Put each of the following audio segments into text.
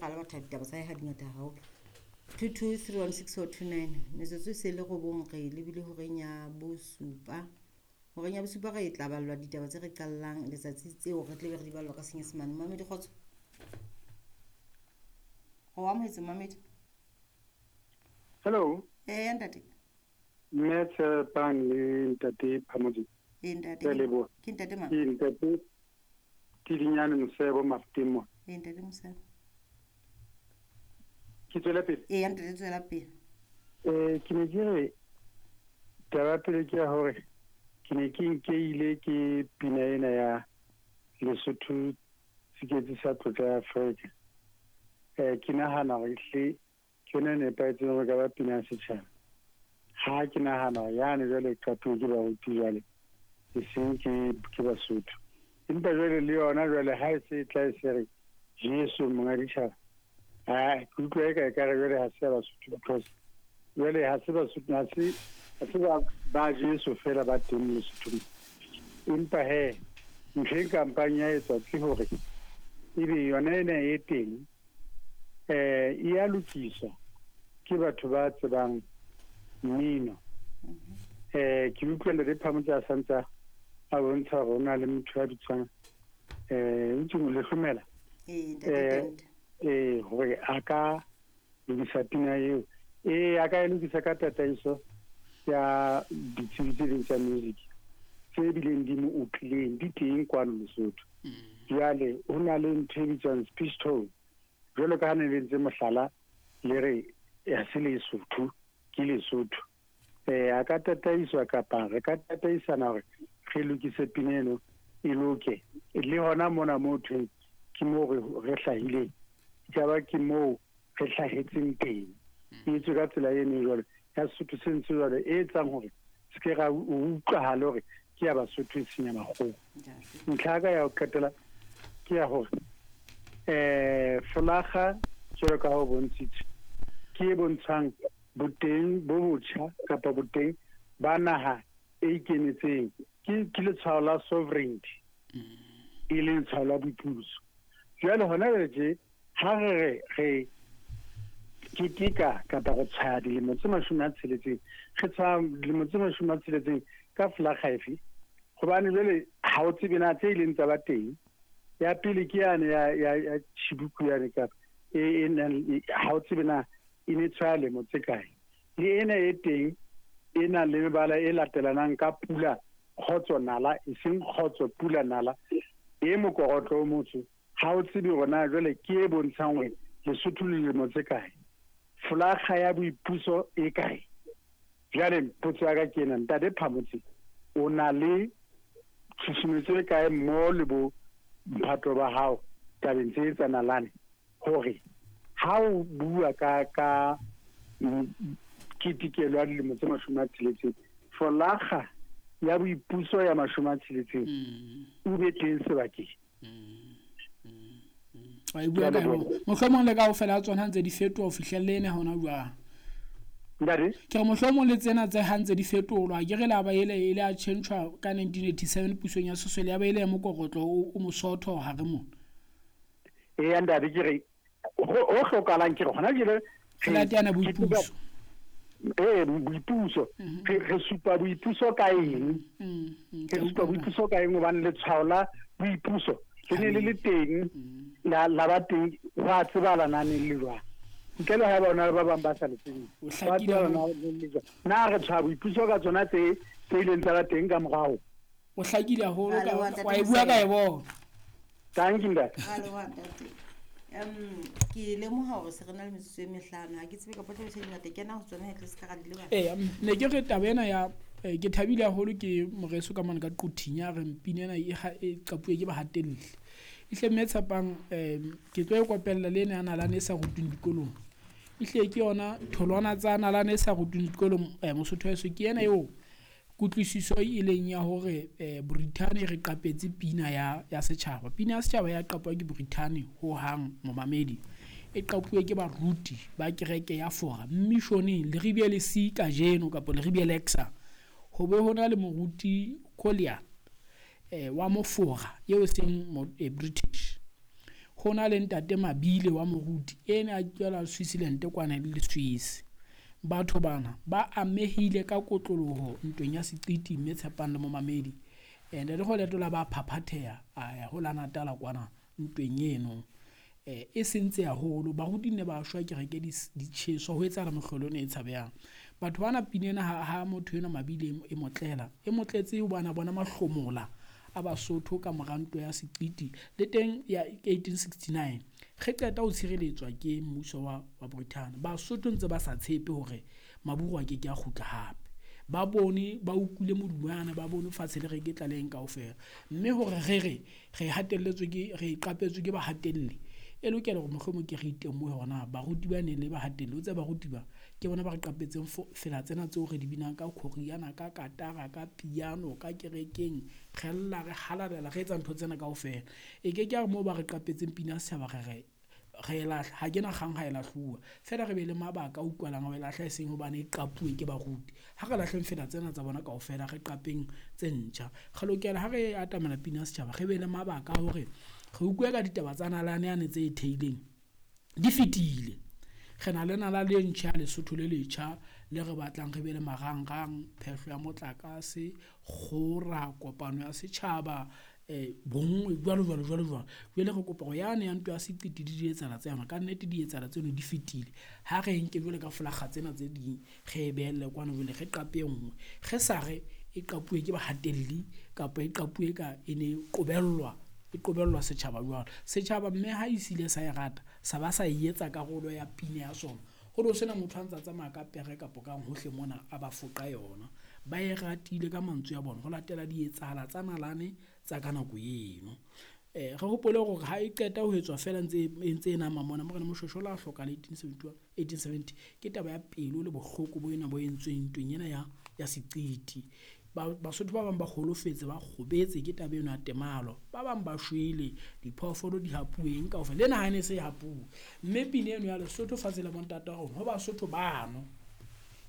Kgale batho ditaba tsa hae ha di ngata haholo. 22316029 metsotso e se le 9 re lebile horeng ya bosupa. Horeng ya bosupa re tla ballwa ditaba tse re qallang letsatsi tseo re tle be re di ballwa ka Senyesemane. Mamedi kgotso. O amohetse Mamedi. Hello. Eh ntate. Mme Tshepang le ntate Phamodi. Eh ntate. Ke ntate mang? Ke ntate Tidinyane Mosebo Mafuteng. Eh ntate Mosebo. Ke tswela pele. Eh ntate tswela pele. Eh ke ne ke re taba pele ke ya hore ke ne ke nkeile ke pina ena ya Lesotho Tsiketsi sa tlotla ya Afrika. Eh ke nahana hore ehlile ke yona e nepahetseng hore ka ba pina ya setjhaba. Ha ke nahana yane jwale qapuwe ke baruti jwale e seng ke Basotho. Empa jwale le yona jwale ha e se e tla e se re Jesu monga ditjhaba. Ha ke utlwa eka ekare jwale ha se ya Basotho because jwale ha se Basotho ha se ba Jesu fela ba teng Lesothong. Empa he ntho e kampang ya etswa ke hore ebe yona ena e teng e ya lokiswa ke batho ba tsebang mmino. Ke utlwa Ntate Phamotse a santsa a bontsha hore ho na le motho ya bitswang o Lehlomela. Hore a ka lokisa pina eo. A ka e lokisa ka tataiso ya ditsebi tse ding tsa music tse bileng di mo utlwileng di teng kwano Lesotho. Jwale ho na le ntho e bitswang speech tone. Jwalo ka ha ne le ntse mohlala le re ha se Lesotho ke Lesotho. A ka tataiswa kapa re ka tataisana hore re lokise pina eno e loke. Le hona mona moo thweng ke moo re hlahileng. Ka ba ke moo re hlahetseng teng. E etswe ka tsela eno jwale ya Sesotho se ntse jwale e etsang hore se ke ra utlwahala hore ke ya Basotho e seng ya makgowa. Ntlha ya ka ya ho qetela ke ya hore folakga jwalo ka ha o bontshitswe ke e bontshang boteng bo botjha kapa boteng ba naha e ikemetseng. Ke letshwao la sovereignty e leng letshwao la boipuso. Jwale hona jwale tje ha re re keteka kapa re tshwaya dilemo tse 60, re tshwaya dilemo tse 60 ka folakga efe? Hobane jwale ha o tsebe na tse ileng tsa ba teng. Ya pele ke yane ya Chibuku yane kapa e nang ha o tsebe na e ne tshwaya lemo tse kae. Le ena e teng e nang le mebala e latelanang ka pula kgotso nala, e seng kgotso pula nala, e mokorotlo o motsho. Ha o tsebe hore na jwale ke e bontshang hore Lesotho le lemo tse kae. Folakga ya boipuso e kae? Jwale potso ya ka ke ena, Ntate Phamotse o na le tshusumetso e kae mo le bo mphato ba hao tabeng tse tsa nalane hore ha o bua ka ketekelo ya dilemo tse 60, folakga ya boipuso ya 60 o be teng sebakeng. Wa e bua ka yona. Mohlomong le kaofela tsona ntse di fetoha ho fihlelle ena hona jwang. Ntate? Ke re mohlomong le tsena tse ha ntse di fetolwa, ke re la ba ele e le a tjhentjhwa ka 1987 pusong ya Sesole ya ba ele ya mokorotlo o mosotho hare mona. Eya ntate, ke re ho hlokahalang ke re hona jwale re latela boipuso. Boipuso. Re supa boipuso ka eng? Re supa boipuso ka eng hobane letshwao la boipuso le ne le le teng, la ba teng, hwa tsebala na neng le jwang. Ntle le ha bona ba bang ba sa le tsebeng. O hlakile Hwa tsebala na neng le jwang. Na re tshwaya boipuso ka tsona tse ileng tsa ba teng ka morao. O hlakile haholo Ra leboha, ntate wa e bua ka e bona. Thank you, ntate. Ra leboha, ntate. Ke lemoha hore se re na le metsotso e mehlano. Ha ke tsebe kapa tla tjhe dingata kena ho tsona e tle se ka ra di lebala. Ne ke re taba ena ya ke thabile haholo ke moreso ka mona ka Quthing ya re mpina ena e qapuwe ke bahatelli. Ehle mme Tshepang, ke tlo e kopella le ena ya nalane e sa rutweng dikolong. Ehle ke yona tholwana tsa nalane e sa rutweng dikolong, Mosotho wa heso ke ena eo kutlwisiso e leng ya hore Brithani re qapetse pina ya setjhaba. Pina ya setjhaba ya qapuwa ke Brithani ho hang momamedi. E qapuwe ke baruti ba kereke ya Fora missioneng Leribe le si kajeno kapa Leribe Lexa. Ho be hona le moruti Collier wa Mofora eo seng British. Ho na le ntate Mabile wa moruti ene a tswela Switzerland kwana le Swiss. Batho bana ba amehile ka kotloloho ntweng ya seqiti mme Tshepang le momamedi. Ntate Kgoletola ba phaphatheha a ya ho la Natala kwana ntweng eno. E sentse haholo, baruti ne ba shwa kereke di tjheswa ho etsahala mohlolo ena e tshabehang. Batho bana pina ena ha motho enwa Mabile e motlela, e motletse hobane a bona mahlomola a Basotho ka mora ntwa ya seqiti le teng ya 1869. Re qeta ho tshireletswa ke mmuso wa Britain. Basotho ntse ba sa tshepe hore maburu a keke a kgutla hape. Ba bone, ba utlwile modumo yana, ba bone fatshe le reketla le eng kaofela. Mme hore re re, re hatelletswe ke, re qapetswe ke bahatelli, e lokela hore mohlomong ke re itemohe hore na baruti ba neng le bahatelli, o tsebe baruti ba ke bona ba re qapetseng fela tsena tseo re di binang ka khoriana, ka katara, ka piano, ka kerekeng, re lla, re halalela, re etsa ntho tsena kaofela. E ke ke ya re moo ba re qapetseng pina ya setjhaba re re re e lahla, ha ke na kgang ha e lahluwa. Feela re be le mabaka a utlwalang ho e lahla, e seng hobane e qapuwe ke baruti. Ha re lahleng fela tsena tsa bona kaofela, re qapeng tse ntjha. Re lokela ha re atamela pina ya setjhaba, re be le mabaka a hore re utlwe ka ditaba tsa nalane yane tse e theileng di fetile. Re na le nalane e ntjha ya Lesotho le letjha le re batlang re be le marangrang, phehlo ya motlakase, kgora, kopano ya setjhaba, bonngwe jwalo jwalo jwalo jwalo. Jwale re kopa hore yane ya ntwa ya seqiti di di etsahala tsa yona, ka nnete di etsahala tseno di fetile. Ha re nke jwale ka folakga tsena tse ding, re e behelle kwano jwale re qape e nngwe. Re sa re e qapuwe ke bahatelli kapa e qapuwe ka e ne qobellwa, e qobellwa setjhaba jwalo. Setjhaba mme ha e sile sa e rata, sa ba sa e etsa karolo ya pina ya sona. Ho no sena motho a ntsa tsamaya ka pere kapo kang hohle mona a ba foqa yona. Ba e ratile ka mantswe a bona ho latela di etsahala tsa nalane tsa ka nako eno. Re hopole hore ha e qeta ho etswa feela ntse e nama mona, Morena Moshoeshoe a hlokahala 1871, 1870, ke taba ya pelo le bohloko bo ena bo entsweng ntweng ena ya seqiti. Basotho ba bang ba holofetse, ba kgobetse ke taba eno ya temalo. Ba bang ba shwele, diphoofolo di hapuweng kaofela. Le naha e ne se e hapuwe. Mme pina eno ya Lesotho fatshe la bontata wa rona, ho Basotho bano,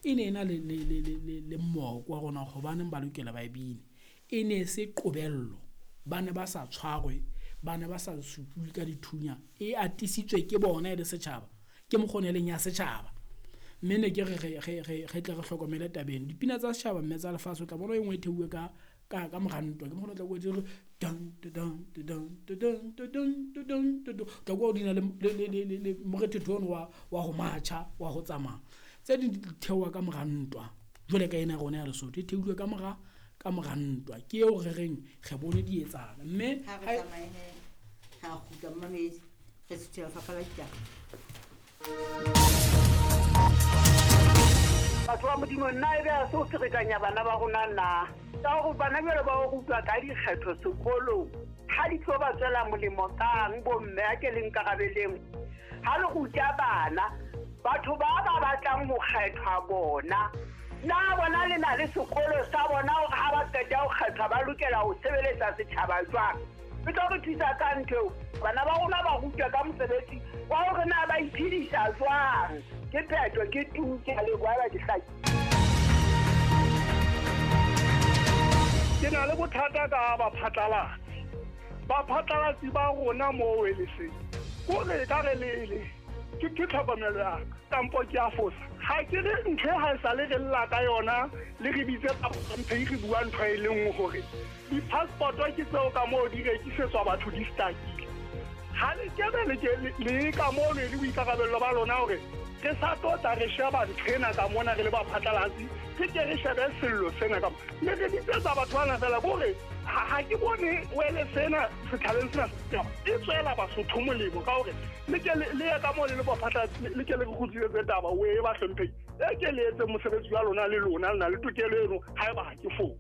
e ne e na le moko wa rona hobaneng ba lokela ba e bine. E ne se qobello, ba ne ba sa tshwarwe, ba ne ba sa supuwe ka dithunya. E atisitswe ke bona e le setjhaba, ke mokgwa o e leng ya setjhaba. Mme ne ke re re tle re hlokomele tabeng. Dipina tsa setjhaba mme tsa lefatshe o tla bona e nngwe e theuwe ka mora ntwa. Ke mokgwa o tla kwa di re dan dan dan dan dan dan dan. Tla kwa di na le morethetho ono wa ho matjha, wa ho tsamaya. Tse ding di theoha ka mora ntwa. Jwale ka ena rona ya Lesotho e theilwe ka mora ntwa. Ke eo re reng re bone di etsahala. Mme ha re tsamaye ha kgutla mmamedi, re suthela lefapha la ditaba. Batho ba Modimo, nna ebe ha se o ferekanya bana ba rona na? Ka hore bana jwale ba o rutwa ka dikgetho sekolong, ha di tlo ba tswela molemo kang bomme a ke le nkarabeleng? Ha le ruta bana, batho ba ba batlang ho kgethwa bona, na bona le na le sekolo sa bona hore ha ba qeta ho kgethwa ba lokela ho sebeletsa setjhaba jwang? E tlo re thusa ka ntho eo. Bana ba rona ba rutwa ka mosebetsi wa hore na ba iphedisa jwang. Ke phetho, ke tu, ke a leboha ba ke hlaki. Ke na le bothata ka baphatlalatsi. Baphatlalatsi ba rona moo e le seng. Kore ka re le ke tlhokomelo ya ka, kampo ke a fosa. Ha ke re ntho e ha e sale re lla ka yona, le re bitse mphe re bua ntho e le nngwe hore di-passport-o ke tseo ka moo di rekisetswa batho di stakile. Ha le kebe le ka moo le boikarabello ba lona hore re sa tlo tla re sheba ntho ena ka mona re le baphatlalatsi, re ke re shebe sello sena ka mona. Mme re bitsetsa batho bana fela kore ha ke bone wele sena setjhabeng sena e tswela Basotho molemo ka hore le ke le ye ka moo le le baphatlalatsi, le ke le re kgutlisetse taba o e ba hlomphehi. E ke le etse mosebetsi wa lona le lona, le na le tokelo eno haeba ha ke fose.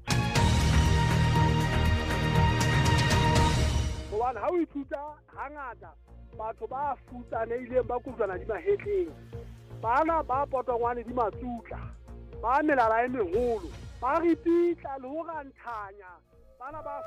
Hobane ha o ithuta hangata batho ba futsanehileng ba kojwana di mahetleng, bana ba potongwane di matsutla, ba melala e meholo, ba ripitla le ho ranthanya, bana ba